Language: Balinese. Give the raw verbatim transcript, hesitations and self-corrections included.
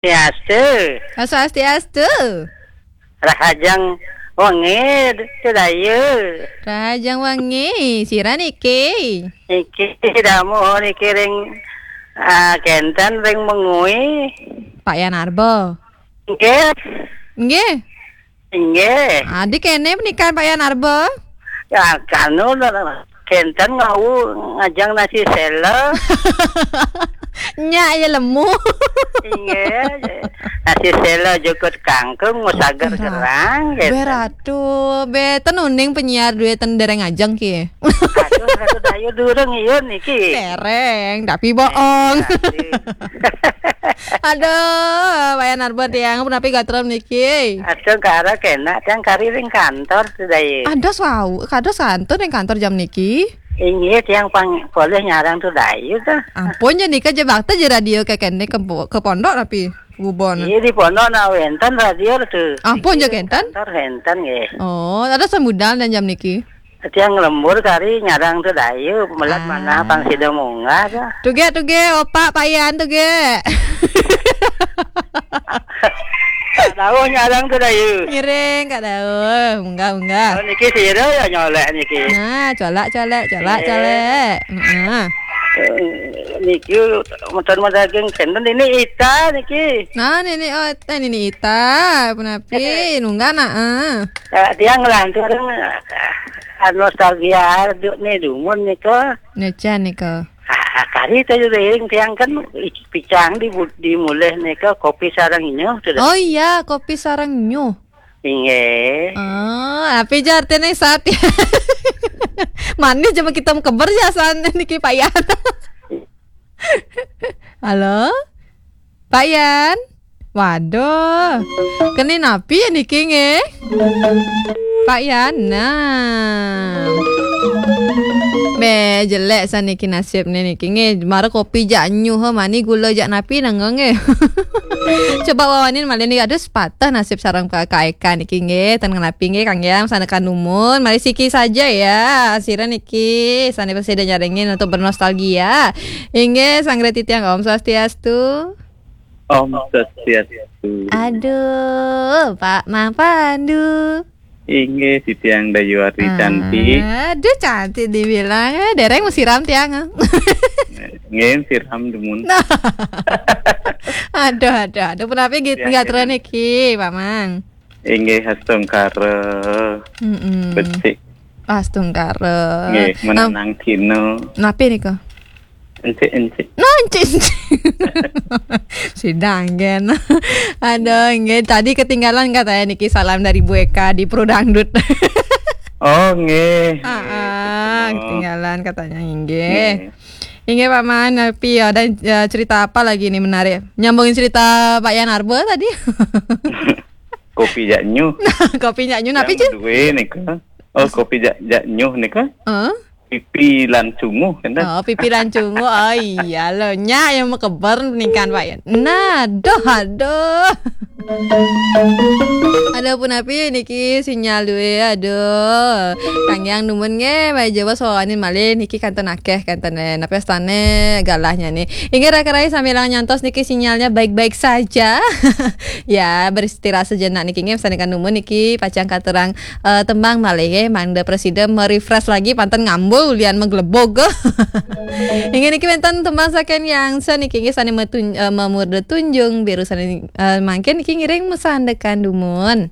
Swastiastu. Swastiastu. Rahajeng wengi, Dayu. Rahajeng wengi, sira niki? Niki damuh niki ring, ah, kenten ring Mengwi. Pak Yan Arba. Nggih. Nggih. Inggih. Adi kene penikan Pak Yan Arba? Ya, kanu, kenten ngau ngajeng nasi sela. Nyak ya lemu. Inggih. Nasi sela jukut kangkung, musagar gerang, gitu. Beratu, be, ten uning penyiar duit ten dereng ajeng ki. Aduh, aduh, ayo durung iyun niki. Dereng, tapi bohong. Aduh. Aduh, Pak Yan Arba tiang, punapi gatra niki? Aduh, kara kena tiang kari ring kantor tu, Dayu. Aduh, wau, kados wantun ring kantor jam niki? Inggih, tiang pang polih nyarang tu, Dayu, ta. Ampun, ja nika ja bakta ja radio kekene ke, ke pondok tapi bubon. Iya, di pondok na wenten radio tu. Ampun, ja kenten? Kantor wenten, nggih. Oh, ada sambudan dan jam niki? Tiang lembur kari nyarang tu, Dayu, melat manah pang sida munggah ta. Tuge, tuge, opak Pak Yan, tuge. Kak Dauh nyarang tu, Dayu. Ngiring, Kak Dauh. Munggah, munggah. Oh, niki sira ya nyolek niki. Nah, colak, colak, colak, eh, colak. Heeh. Eh, niki mutun madaging kenten ini Ita niki. Nah, nini, oh, eh, nini Ita, punapi, nunggah nak, eh. Eh, tiang nglantur, eh, nostalgia duk ni dumun nika. Nyecan nika. Ah, kari tadi ring tiang kan picang di bu-, di mulih nika kopi sareng nyuh tu dah. Oh iya, kopi sareng nyuh. Inggih. Oh, api ja artine sat. Manis cuma kita keber ja san niki Pak Yan. Halo? Pak Yan? Waduh. Kene napi ya niki nggih? Pak Yan, nah. Be, jelek saniki nasibne niki nggih. Mara kopi jak nyuh, mani gula jak napi nang nggih. Coba wawanin malih niki, aduh, sepatah nasib sareng Pak Eka niki nggih. Ten napi nggih, kangge sanekan dumun. Mari siki saja ya. Sira niki sane prasida nyarengin untuk bernostalgia. Inggih, sanggra titiang, Om Swastiastu. Om Swastiastu. Aduh, Pak Mang Pandu. Inggih, titiang Dayu Ari cantik. Aduh, cantik dibilang. Eh, dereng mesiram tiang, eh. Nggih, siram dumun. Aduh, aduh, aduh. Punapi git-, tiang gatra niki, Pak Mang? Inggih, astungkara. Mm-mm. Becik. Astungkara. Nggih, menanang kino. Napi nika? Encik-encik. Nah, encik-encik. Sidang, gen. Aduh, nggih. Tadi ketinggalan katanya niki salam dari Bu Eka di Pro Dangdut. Oh, nggih. Ah, nggih, ah, betul. Ketinggalan katanya, nggih. Nggih. Nggih, Pak Man, tapi ada, eh, cerita apa lagi nih menarik? Nyambungin cerita Pak Yan Arba tadi. Kopi jak nyuh. Kopi jak nyuh, napi, Cik? Yang dua nika. Oh, kopi jak, jak nyuh nika. Heeh. Pipi lan cunguh, kan, dah? Oh, pipi lan cunguh. Oh, iya lo. Nya yang makeber ningkan, Pak, ya. Nah, aduh, aduh. Aduh, punapi niki sinyal duwe, aduh. Kang Yang numun nggih, Pak Jawa sawanin malih niki kanten akeh, kanten, eh, napi astane galahnya nih. Inggih, raka rai samilang nyantos niki sinyalnya baik-baik saja. Ya, beristirahat sejenak niki nggih, sanekan numun niki pacang katurang eh, tembang malih nggih, mangda prasida merefresh lagi, panten ngambul ulian menggelebog. Inggih niki wenten tembang saking Yang Sen niki nggih sane metun-, eh, memurda tunjung biru sane, eh, mangkin niki ngiring masandekan dumun.